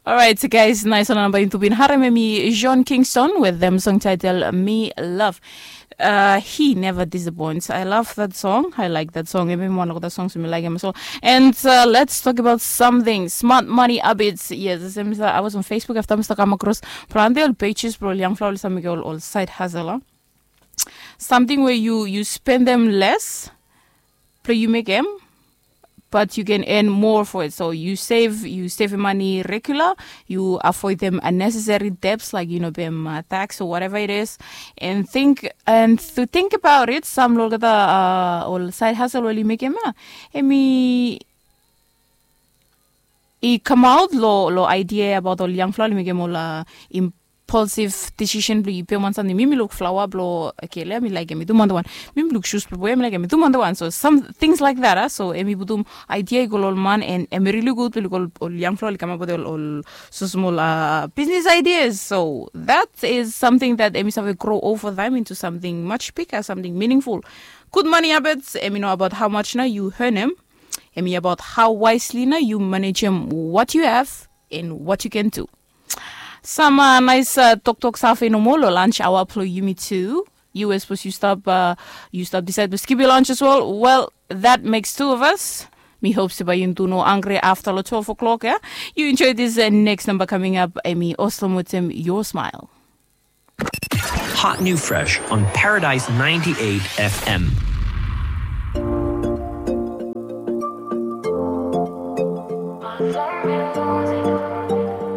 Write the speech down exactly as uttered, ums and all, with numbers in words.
Alright, guys, nais wan namba yumi tu bin harem, em i John Kingston with them song title Me Love. Uh, he never disappoints. I love that song. I like that song. Em i wan of the songs mi like em so. And uh, let's talk about something. Smart money habits. Yes, sem sa, I was on Facebook after mi stap kam across planti ol pages bro ol young flower oli stap mekim ol, ol side hustle. Samting we yu, yu spendem less, blo yu mekem, but you can earn more for it. So you save, you save money regular, you avoid them unnecessary debts like you know pem uh, tax or whatever it is. And think and to think about it, sam lo olgeta uh, ol side hustle oli mekem uh, emi i come out lo lo idea about ol young flower oli mekem ol uh, impulsive decision blo i pem wan samting. Mi mi luk flower blo kele mi like em i dum wan wan. Mi mi luk shoes blo boy mi like em i dum wan wan. So some things like that uh, so emi putum idea i go lo ol man and emi really good blo i go ol young flower oli come up with ol, ol so small uh, business ideas. So that is something that emi save grow over time into something much bigger, something meaningful. Good money habits, emi know about how much na you earn em. Emi about how wisely na you manage em, what you have and what you can do. Some uh, nice uh, toktok safe nomo lo lunch hour blo yumi tu. You were supposed you stop uh, you stop decide to skip your lunch as well. Well, that makes two of us. Mi hope se bai yu tu no hungry after lo twelve o'clock, yeah? You enjoy this uh, next number coming up, emi Oslo Motem, your smile. Hot new fresh on Paradise ninety-eight F M.